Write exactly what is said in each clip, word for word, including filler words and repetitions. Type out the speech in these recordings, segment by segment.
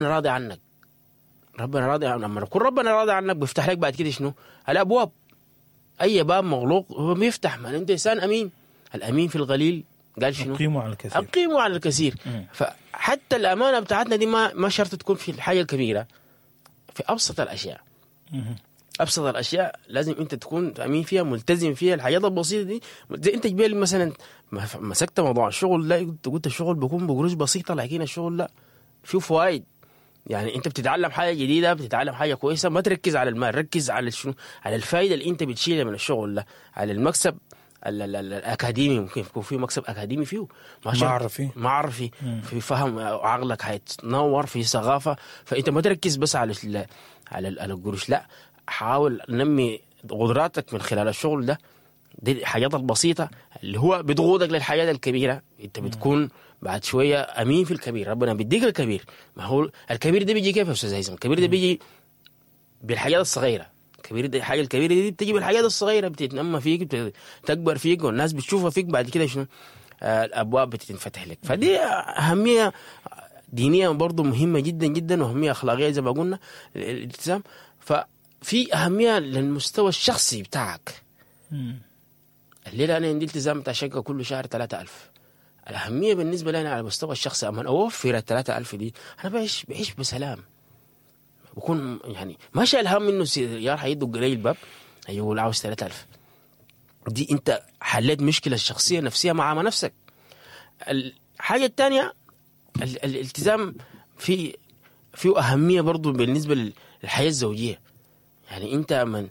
راضي عنك. ربنا راضي عنك. لما يكون ربنا راضي عنك بيفتح لك بعد كده شنو؟ الابواب. اي باب مغلوق هو بيفتح. ما انت انسان امين، الامين في القليل قال شنو؟ أقيموا على الكثير. أقيموا على الكثير. مم. فحتى الأمانة بتاعتنا دي ما ما شرط تكون في الحاجة الكبيرة، في أبسط الأشياء. مم. أبسط الأشياء لازم أنت تكون أمين فيها، ملتزم فيها. الحاجات البسيطة دي زي أنت جبال مثلا مسكت موضوع الشغل، لا قلت قلت الشغل بيكون بقروش بسيطة، لكن الشغل لا فيه فوائد. يعني انت بتتعلم حاجة جديدة، بتتعلم حاجة كويسة، ما تركز على المال، ركز على شنو؟ على الفائدة اللي انت بتشيلها من الشغل ده، على المكسب ال ال ال الاكاديمي. ممكن يكون في مكسب اكاديمي فيه، ما شرط. معرفي. معرفي، في فهم، عقلك هيتنور، في ثقافة. فانت ما تركز بس على ال على ال- على القروش، لا، حاول نمي قدراتك من خلال الشغل ده. دي الحاجات البسيطة اللي هو بتقودك للحاجات الكبيرة. انت بتكون بعد شوية امين في الكبير، ربنا بيديك الكبير. ما هو الكبير ده بيجي كيف يا استاذ هيثم؟ الكبير ده بيجي بالحاجات الصغيرة. الكبير ده، الحاجة الكبيرة دي بتجي بالحاجات الصغيرة، بتتنمى فيك، بتكبر فيك، والناس بتشوفها فيك. بعد كده شنو؟ آه الابواب بتنفتح لك. فدي اهمية دينية برضو مهمة جدا جدا، واهمية اخلاقية زي ما قلنا الالتزام. ففي اهمية للمستوى الشخصي بتاعك. مم. الليلة انا عندي التزام بتاع شقه كل شهر ثلاثة ألف. الاهمية بالنسبة لي انا على المستوى الشخصي، اما اوفر ال ثلاثة ألف دي انا بعيش بعيش بسلام، بكون يعني ما شايل هم انه سيار حيدق لي الباب يقول عاوز ثلاثة ألف. دي انت حليت مشكلة الشخصية النفسية مع نفسك. الحاجة الثانية ال- الالتزام في فيه اهمية برضو بالنسبة للحياة الزوجية. يعني انت من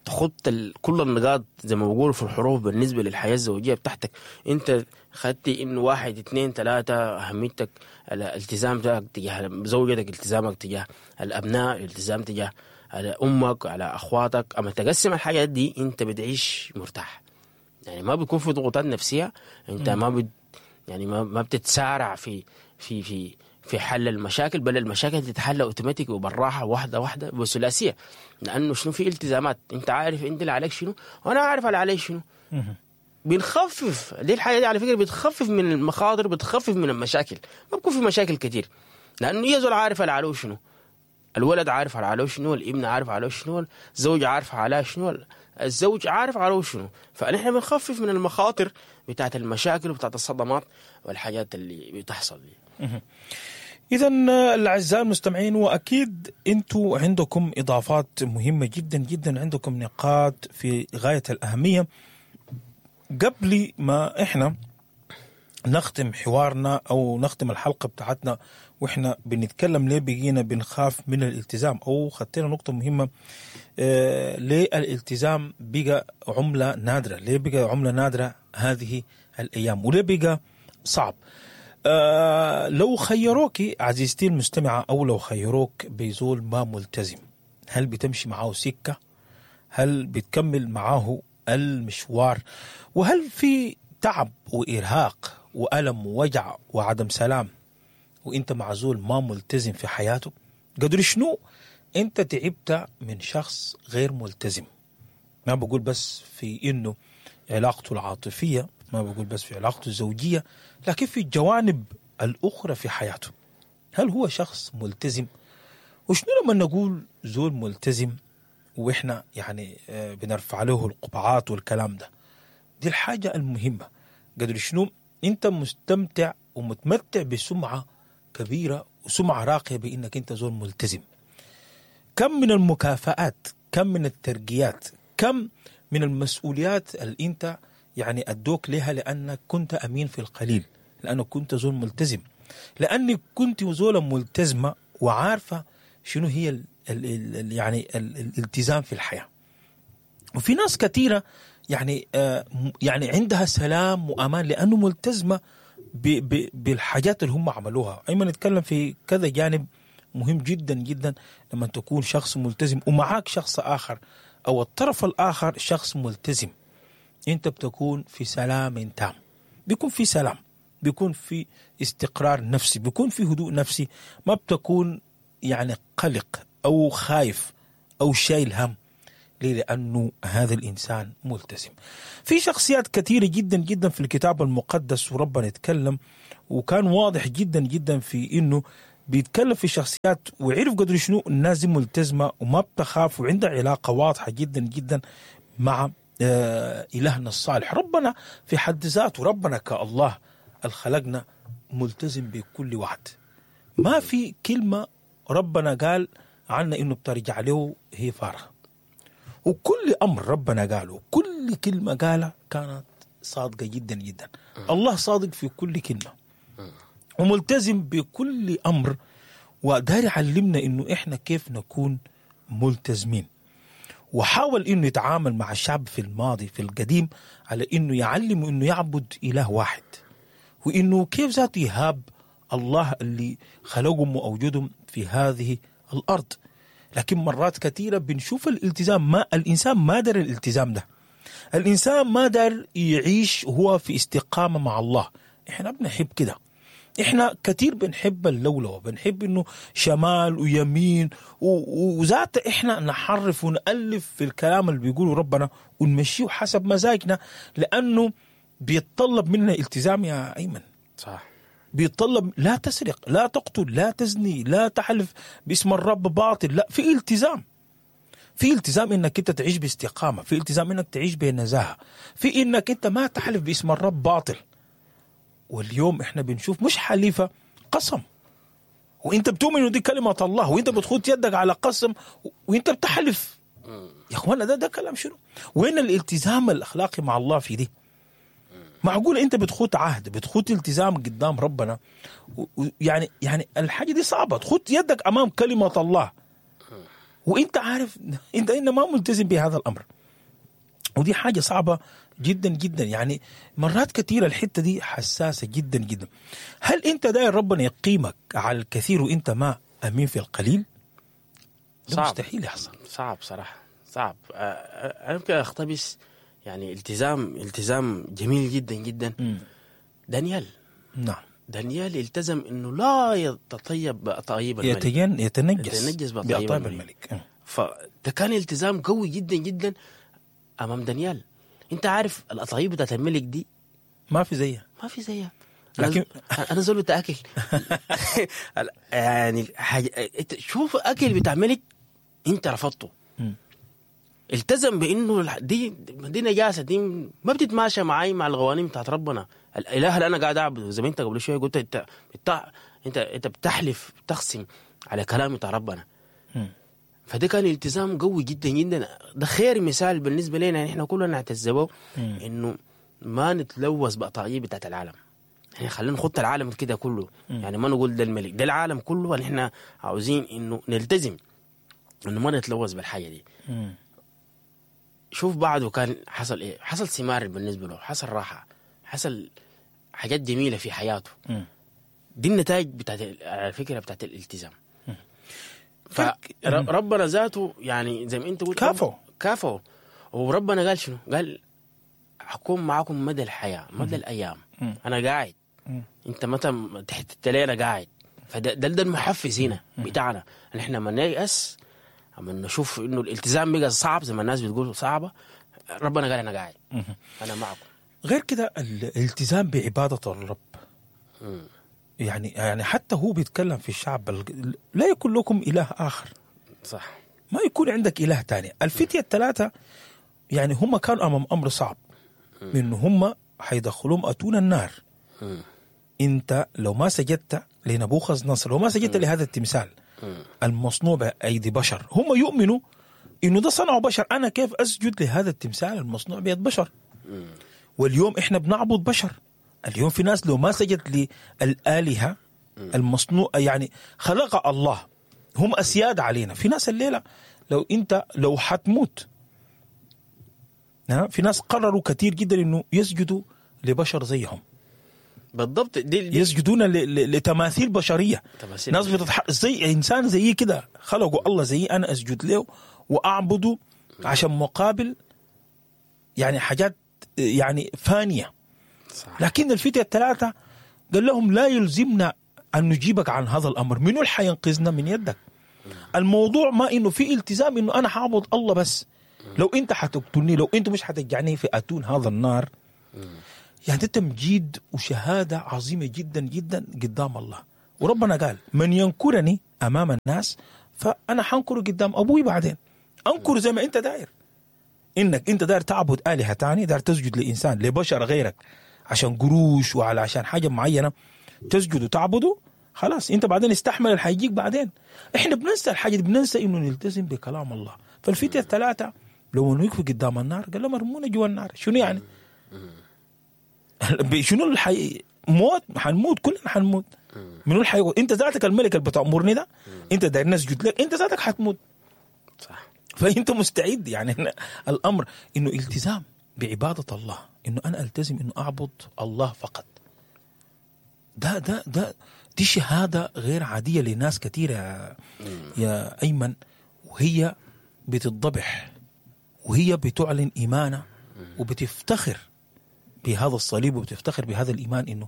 تخط ال- كل النقاط زي ما بقولوا في الحروف بالنسبة للحياة الزوجية بتاعتك، انت خدت انه واحد اتنين تلاتة، اهميتك الالتزام بتاعك تجاه زوجتك، التزامك تجاه الابناء، الالتزام تجاه على امك، على اخواتك. اما تقسم الحاجات دي انت بتعيش مرتاح، يعني ما بيكون في ضغوطات نفسية، انت ما بت يعني ما ما بتتسارع في في في في حل المشاكل، بل المشاكل تتحل اوتوماتيك وبالراحه، واحدة واحدة بثلاثيه، لانه شنو؟ في التزامات، انت عارف انت اللي عليك شنو وانا عارف اللي علي شنو. مم. بنخفف دي الحاجة دي على فكرة، بتخفف من المخاطر، بتخفف من المشاكل، ما بكون في مشاكل كتير، لانه يزول عارف اللي عليه شنو، الولد عارف على عليه شنو، الابن عارف عليه شنو، الزوج عارف على شنو، الزوج عارف عليه شنو. فنحن بنخفف من المخاطر بتاعت المشاكل وبتاعت الصدمات والحاجات اللي بتحصل دي. إذا الأعزاء المستمعين، وأكيد أنتوا عندكم إضافات مهمة جدا جدا، عندكم نقاط في غاية الأهمية. قبل ما إحنا نختم حوارنا أو نختم الحلقة بتاعتنا وإحنا بنتكلم ليه بقينا بنخاف من الالتزام، أو خدتنا نقطة مهمة، آه ليه الالتزام بقى عملة نادرة، ليه بقى عملة نادرة هذه الأيام، وليه بقى صعب. آه لو خيروك عزيزتي المستمعة، أو لو خيروك بزول ما ملتزم، هل بتمشي معاه سكة؟ هل بتكمل معاه المشوار؟ وهل في تعب وإرهاق وألم ووجع وعدم سلام وإنت مع زول ما ملتزم في حياته؟ قدر شنو أنت تعبت من شخص غير ملتزم؟ ما بقول بس في إنه علاقته العاطفية، ما بقول بس في علاقته الزوجية، لكن في الجوانب الأخرى في حياته. هل هو شخص ملتزم؟ وشنو لما نقول زول ملتزم وإحنا يعني آه، بنرفع له القبعات والكلام ده؟ دي الحاجة المهمة. قدر شنو أنت مستمتع ومتمتع بسمعة كبيرة وسمعة راقية بإنك أنت زول ملتزم. كم من المكافآت، كم من الترقيات، كم من المسؤوليات اللي انت يعني ادوك لها لانك كنت امين في القليل، لانك كنت زول ملتزم، لانك كنت زولة ملتزمة وعارفه شنو هي ال ال ال يعني ال الالتزام في الحياة. وفي ناس كثيرة يعني آه يعني عندها سلام وامان لانه ملتزمة ب ب بالحاجات اللي هم عملوها. ايمن نتكلم في كذا جانب مهم جدا جدا لما تكون شخص ملتزم ومعاك شخص اخر او الطرف الاخر شخص ملتزم، انت بتكون في سلام تام، بيكون في سلام، بيكون في استقرار نفسي، بيكون في هدوء نفسي، ما بتكون يعني قلق او خايف او شايل هم. ليه؟ لأنه هذا الإنسان ملتزم. في شخصيات كثيرة جدا جدا في الكتاب المقدس وربنا يتكلم، وكان واضح جدا جدا في إنه بيتكلم في شخصيات وعرف قدر شنو الناس دي ملتزمة وما بتخاف وعندها علاقة واضحة جدا جدا مع آه إلهنا الصالح. ربنا في حد ذاته، ربنا كالله الخلقنا ملتزم بكل وعد. ما في كلمة ربنا قال عنا إنه بترجع له هي فارغة، وكل أمر ربنا قاله، كل كلمة قالها كانت صادقة جدا جدا. الله صادق في كل كلمة وملتزم بكل أمر، ودار يعلمنا إنه إحنا كيف نكون ملتزمين. وحاول إنه يتعامل مع الشعب في الماضي في القديم على إنه يعلمه إنه يعبد إله واحد، وإنه كيف ذاته يهاب الله اللي خلقهم وأوجدهم في هذه الأرض. لكن مرات كثيرة بنشوف الالتزام، ما الإنسان ما دار الالتزام ده، الإنسان ما دار يعيش هو في استقامة مع الله. إحنا بنحب كده، إحنا كثير بنحب اللولوة، بنحب إنه شمال ويمين، وذات إحنا نحرف ونألف في الكلام اللي بيقوله ربنا ونمشيه حسب مزاجنا، لأنه بيتطلب منا التزام يا أيمن. صح، بيتطلب لا تسرق، لا تقتل، لا تزني، لا تحلف باسم الرب باطل. لا، في التزام، في التزام انك انت تعيش باستقامة، في التزام انك تعيش بنزاهة، في انك انت ما تحلف باسم الرب باطل. واليوم احنا بنشوف مش حليفة، قسم، وانت بتؤمن انه دي كلمة الله، وانت بتخوت يدك على قسم وانت بتحلف. يا اخوانا ده ده كلام شنو؟ وين الالتزام الاخلاقي مع الله في دي؟ معقول انت بتخوت عهد، بتخوت التزام قدام ربنا، يعني يعني الحاجة دي صعبة، تخوت يدك امام كلمة الله وانت عارف انت إن ما ملتزم بهذا الامر، ودي حاجة صعبة جدا جدا. يعني مرات كثيرة الحتة دي حساسة جدا جدا. هل انت داير ربنا يقيمك على الكثير وانت ما امين في القليل؟ ده صعب، مستحيل يحصل، صعب صراحة، صعب. انا ممكن اقتبس يعني التزام التزام جميل جدا جدا. م. دانيال، نعم، دانيال التزم انه لا يتطيب بأطايب الملك، يتجن يتنجس يتنجس بأطايب بأطايب الملك. الملك. فده كان التزام قوي جدا جدا امام دانيال. انت عارف الاطايب بتاعت الملك دي ما في زيها، ما في زيها. لكن انا زول بتاع اكل يعني حاجة، شوف اكل بتاع ملك انت رفضته. م. التزم بانه دي دي نجاسة، دي ما بتتماشى معي مع القوانين بتاعت ربنا، الاله اللي انا قاعد اعبده. زي ما انت قبل شوية قلت انت انت انت, انت بتحلف بتخصم على كلام بتاع ربنا. م. فده كان التزام قوي جدا جدا. ده خير مثال بالنسبة لنا، يعني احنا كلنا نعتز به انه ما نتلوث بقطاعيه بتاعت العالم. يعني خلينا نخط العالم كده كله، م. يعني ما نقول ده الملك، ده العالم كله. احنا عاوزين انه نلتزم انه ما نتلوث بالحاجة دي. م. شوف بعده كان حصل ايه، حصل ثمار بالنسبة له، حصل راحة، حصل حاجات جميلة في حياته. م. دي النتائج بتاعت على فكرة بتاعت الالتزام. فربنا ذاته يعني زي ما انت قلت كافو كافو. وربنا قال شنو؟ قال حكون معاكم مدى الحياة، مدى الايام. م. انا قاعد، م. انت متى تحت التليله قاعد. فده ده, ده المحفز هنا بتاعنا، ان احنا ما نيأس اما نشوف انه الالتزام بقى صعب زي ما الناس بتقول صعبة، ربنا قال انا قاعد، انا معكم. غير كده الالتزام بعباده الرب. م. يعني يعني حتى هو بيتكلم في الشعب، لا يكون لكم اله اخر. صح، ما يكون عندك اله ثاني. الفتية الثلاثة يعني هم كانوا امام امر صعب، من هم حيدخلوهم اتون النار. م. انت لو ما سجدت لنبوخذ نصر، لو ما سجدت لهذا التمثال المصنوع بأيدي بشر، هم يؤمنوا انه ده صنعه بشر، انا كيف اسجد لهذا التمثال المصنوع بيد بشر؟ واليوم احنا بنعبد بشر. اليوم في ناس لو ما سجدت للآلهة المصنوع يعني خلق الله، هم أسياد علينا. في ناس الليلة لو انت لو حتموت، في ناس قرروا كثير جدا انه يسجدوا لبشر زيهم. بالضبط، دي, دي يسجدون لتماثيل بشرية. تماثيل ناس بتتح... زي انسان زي كده خلقوا الله زي انا اسجد له واعبده عشان مقابل يعني حاجات يعني فانيه. صح. لكن الفتية الثلاثة قال لهم لا يلزمنا ان نجيبك عن هذا الامر، منو اللي حينقذنا من يدك؟ الموضوع ما انه في التزام انه انا حاعبد الله بس، لو انت حتقتلني، لو انت مش حتجعني في اتون هذا النار. يعني ده تمجيد وشهادة عظيمة جدا جدا قدام الله. وربنا قال من ينكرني امام الناس فانا حنكره قدام ابوي بعدين. انكر زي ما انت داير، انك انت داير تعبد الهه تاني، داير تسجد لانسان لبشر غيرك عشان قروش وعلى عشان حاجة معينة تسجد وتعبده، خلاص انت بعدين استحمل اللي حيجيك بعدين. احنا بننسى الحاجة دي، بننسى انه نلتزم بكلام الله. فالفتيه الثلاثة لو وقفوا قدام النار قال لهم ارمونا جوا النار. شنو يعني؟ شنو الحي... موت، حنموت كلنا حنموت. منو الحي... انت ذاتك الملك اللي بتأمرني ده، انت داير نسجد لك، انت ذاتك حتموت. صح. فانت مستعد. يعني الامر انه التزام بعباده الله، انه انا التزم انه اعبد الله فقط. ده ده ده دي شهادة غير عادية لناس كثيرة يا, يا ايمن، وهي بتتضبح وهي بتعلن ايمانها وبتفتخر بهذا الصليب وبتفتخر بهذا الايمان، انه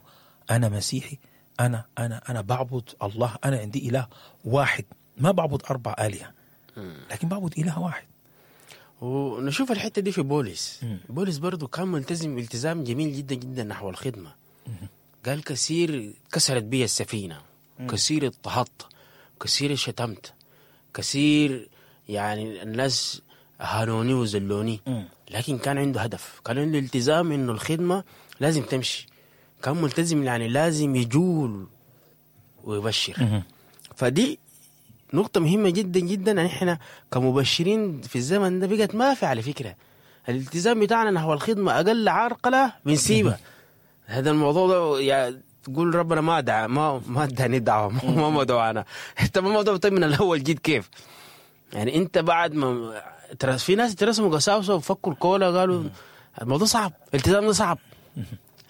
انا مسيحي، انا انا انا بعبد الله، انا عندي اله واحد، ما بعبد اربع الهه لكن بعبد اله واحد. ونشوف الحتة دي في بولس. مم. بولس برضو كان ملتزم التزام جميل جدا جدا نحو الخدمة. مم. قال كثير كسرت بي السفينة، مم. كثير اضطهدت، كثير شتمت، كثير يعني الناس هانوني وزلوني، مم. لكن كان عنده هدف، كان عنده التزام انه الخدمة لازم تمشي، كان ملتزم يعني لازم يجول ويبشر. مم. فدي نقطة مهمة جدا جدا. يعني احنا كمبشرين في الزمن ده بقت ما في على فكرة الالتزام بتاعنا نحو الخدمة أقل عرقلة بنسيبها. هذا الموضوع ده يعني تقول ربنا ما دعا ما ما اداني دعوة، ما ما دعانا. انت ما موضوع طيب من الأول جيت كيف؟ يعني انت بعد ما في ناس ترسموا قساوسة وفكوا الكولا قالوا الموضوع صعب، الالتزام ده صعب.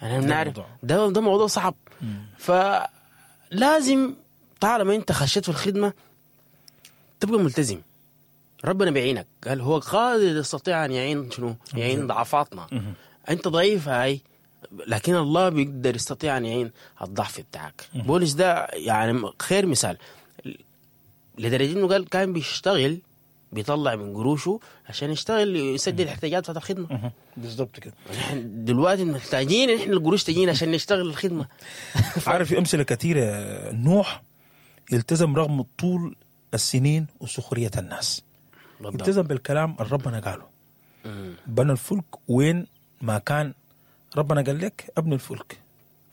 يعني بنعرف ده ده موضوع صعب. فلازم طالما انت خشيت في الخدمة تبقى ملتزم. ربنا بيعينك، قال هو قادر يستطيع أن يعين شنو؟ يعين ضعفاتنا. أنت ضعيف هاي، لكن الله بيقدر يستطيع أن يعين الضعف بتاعك. بولس ده يعني خير مثال، لدرجة إنه قال كان بيشتغل بيطلع من قروشه عشان يشتغل يسدد الاحتياجات بتاعت الخدمة. بالضبط كده. نحن دلوقتي محتاجين إحنا القروش تجينا عشان نشتغل الخدمة. عارف في أمثلة كثيرة. نوح التزم رغم طول السنين وسخرية الناس. بالضبط. التزم بالكلام اللي ربنا قاله. مم. بنى الفلك وين ما كان ربنا قال لك ابني الفلك،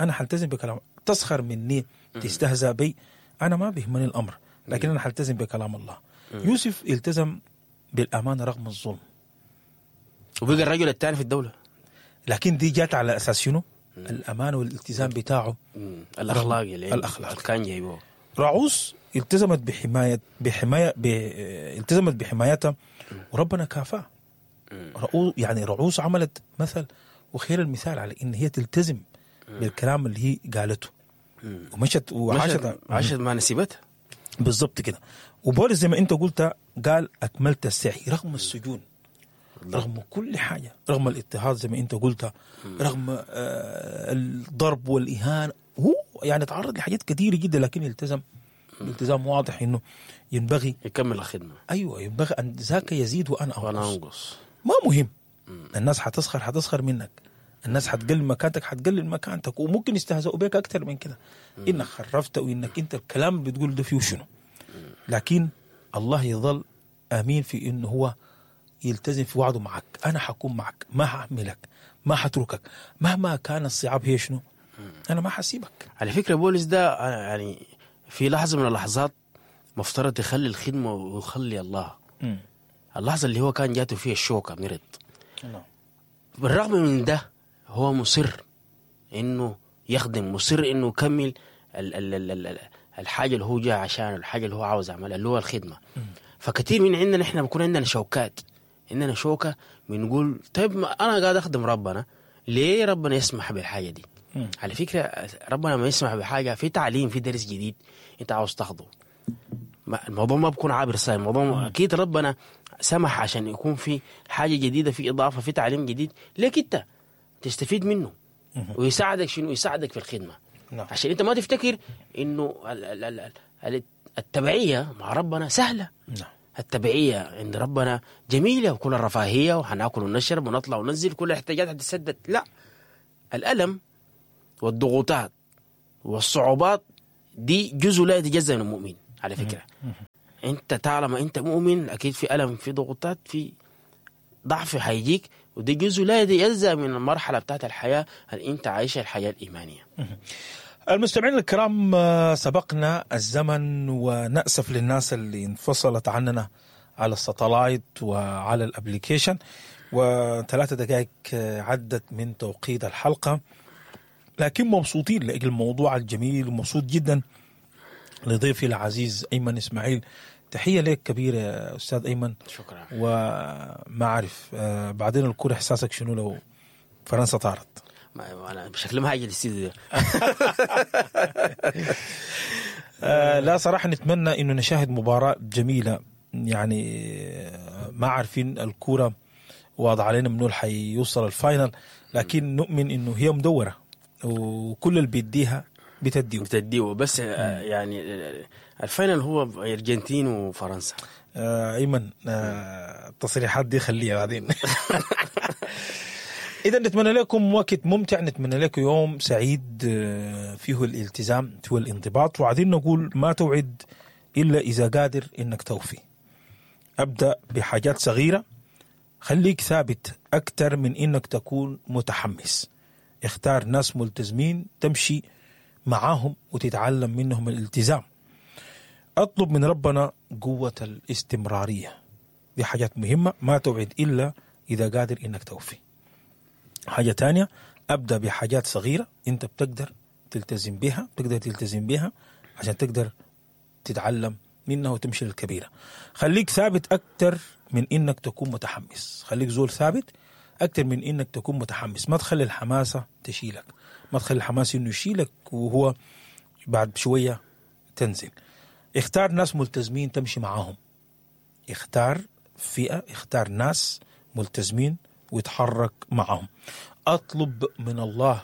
أنا حلتزم بكلام. تسخر مني تستهزأ بي، أنا ما بيهمني الأمر، لكن أنا حلتزم بكلام الله. مم. يوسف التزم بالأمانة رغم الظلم وبقى الرجل الثاني في الدولة. لكن دي جات على أساس شنو؟ الأمانة والالتزام بتاعه، الأخلاق اللي الأخلاق كان جايبه. راعوس التزمت بحماية بحماية ب... التزمت بحمايتها وربنا كافاه. رعو... يعني رعوس عملت مثل وخير المثال على ان هي تلتزم بالكلام اللي هي قالته ومشت وعاشت عاشت مع نسيبتها. بالضبط كده. وبولس زي ما انت قلت قال اكملت السعي رغم السجون، رغم كل حاجة، رغم الاضطهاد زي ما انت قلت، رغم آه الضرب والاهانة، هو يعني تعرض لحاجات كثيرة جدا، لكن التزم التزام واضح انه ينبغي يكمل الخدمة. ايوه، ينبغي ان ذاك يزيد وانا انقص. وانا انقص. ما مهم. مم. الناس حتسخر حتسخر منك، الناس حتقلل مكانتك حتقلل مكانتك، وممكن يستهزئوا بك اكثر من كده، انك خرفت وانك انت الكلام اللي بتقول ده فيه شنو. لكن الله يظل امين في انه هو يلتزم في وعده معك. انا حكون معك، ما هعملك، ما حتركك مهما كان الصعاب. هي شنو؟ انا ما حسيبك. على فكرة بولس ده يعني في لحظة من اللحظات مفترض يخلي الخدمة ويخلي الله. م. اللحظة اللي هو كان جاته فيها الشوكة مرض. بالرغم من ده هو مصر إنه يخدم، مصر إنه يكمل ال ال ال ال الحاجة اللي هو جاء عشانه، الحاجة اللي هو عاوز يعملها اللي هو الخدمة. م. فكثير من عندنا إحنا بيكون عندنا شوكات، عندنا شوكة بنقول طيب ما أنا قاعد أخدم ربنا، ليه ربنا يسمح بالحاجة دي؟ م. على فكرة ربنا ما يسمح بحاجة، في تعليم، في درس جديد انت عاوز تاخده، الموضوع ما بيكون عابر ساي، الموضوع اكيد ربنا سمح عشان يكون في حاجة جديدة، في إضافة، في تعليم جديد ليك انت تستفيد منه ويساعدك شنو؟ يساعدك في الخدمة. نعم. عشان انت ما تفتكر انه التبعية مع ربنا سهلة. نعم. التبعية عند ربنا جميلة وكل الرفاهية وحناكل ونشرب ونطلع وننزل كل الاحتياجات هتتسدد. لا، الألم والضغوطات والصعوبات دي جزء لا يتجزأ من المؤمن على فكرة. انت طالما انت مؤمن اكيد في الم، في ضغوطات، في ضعف حيجيك، وده جزء لا يتجزأ من المرحلة بتاعت الحياة اللي انت عايشها، الحياة الايمانية. المستمعين الكرام، آه، سبقنا الزمن ونأسف للناس اللي انفصلت عننا على ال satellite وعلى ال application، وثلاثة دقائق آه، عدت من توقيت الحلقة، لكن مبسوطين لأجل الموضوع الجميل، ومبسوط جدا لضيفي العزيز أيمن إسماعيل. تحية لك كبيرة يا أستاذ أيمن. شكرا. وما أعرف آه، بعدين الكورة إحساسك شنو لو فرنسا طارت؟ ما انا بشكل ما هاجي الاستديو ده. آه لا صراحة نتمنى انه نشاهد مباراة جميلة، يعني آه، ما عارفين الكورة واضح علينا منو حيوصل ال final، لكن نؤمن انه هي مدورة وكل اللي بيديها بتديه. بتديه بس آه، يعني آه، ال final هو ارجنتين وفرنسا. آه ايمن، آه التصريحات دي خليها بعدين. اذا نتمنى لكم وقت ممتع، نتمنى لكم يوم سعيد آه، فيه الالتزام، فيه الانضباط، وعايزين نقول ما توعد الا اذا قادر انك توفي. ابدا بحاجات صغيرة، خليك ثابت اكثر من انك تكون متحمس. اختار ناس ملتزمين تمشي معاهم وتتعلم منهم الالتزام. اطلب من ربنا قوة الاستمرارية. دي حاجات مهمة، ما توعد إلا إذا قادر إنك توفي. حاجة تانية، أبدأ بحاجات صغيرة أنت بتقدر تلتزم بها، بتقدر تلتزم بها عشان تقدر تتعلم منها وتمشي للكبيرة. خليك ثابت أكتر من إنك تكون متحمس. خليك زول ثابت أكتر من إنك تكون متحمس. ما تخلي الحماسة تشيلك، ما تخلي الحماس إنه يشيلك وهو بعد شوية تنزل. اختار ناس ملتزمين تمشي معاهم، اختار فئة، اختار ناس ملتزمين ويتحرك معهم. اطلب من الله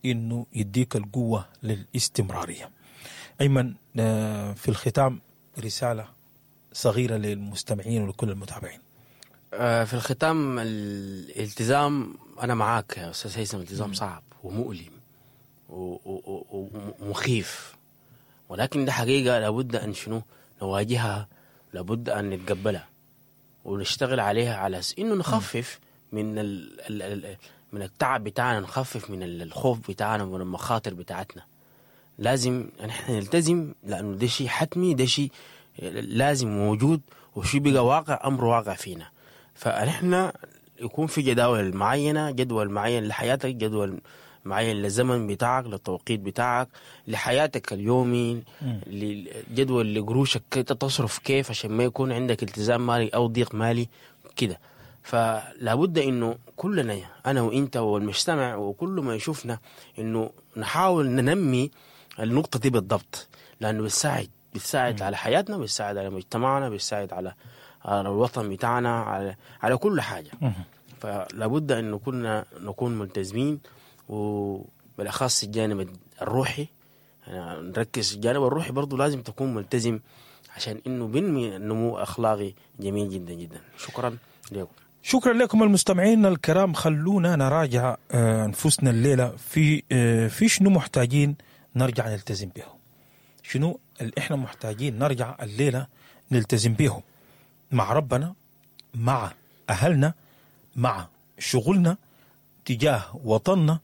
انه يديك القوة للاستمرارية. ايمن، آه، في الختام رسالة صغيرة للمستمعين ولكل المتابعين. آه، في الختام، الالتزام انا معاك يا استاذ هيثم، الالتزام صعب ومؤلم و- و- و- ومخيف، ولكن ده حقيقة لابد ان شنو نواجهها، لابد ان نتقبلها ونشتغل عليها على أساس انه نخفف من ال ال ال من التعب بتاعنا، نخفف من ال- الخوف بتاعنا ومن المخاطر بتاعتنا. لازم نحن نلتزم لانه ده شيء حتمي، ده شيء لازم موجود، وشيء بقى واقع، امر واقع فينا. فنحن يكون في جداول معينة، جدول معين لحياتك، جدول معين للزمن بتاعك، للتوقيت بتاعك، لحياتك اليومي، جدول لقروشك كيف تصرف كيف عشان ما يكون عندك التزام مالي او ضيق مالي كده. فلابد انه كلنا، انا وانت والمجتمع وكل ما يشوفنا، انه نحاول ننمي النقطة دي بالضبط، لانه بتساعد بتساعد على حياتنا، بتساعد على مجتمعنا، بتساعد على على الوطن بتاعنا، على على كل حاجة. فلابد انه كلنا نكون ملتزمين، وبالاخص الجانب الروحي. يعني نركز الجانب الروحي برضو لازم تكون ملتزم عشان انه بنمي نمو اخلاقي جميل جدا جدا. شكرا لكم. شكرا لكم المستمعين الكرام. خلونا نراجع آه، انفسنا الليلة في آه، في شنو محتاجين نرجع نلتزم به، شنو اللي احنا محتاجين نرجع الليلة نلتزم به مع ربنا، مع اهلنا، مع شغلنا، تجاه وطننا.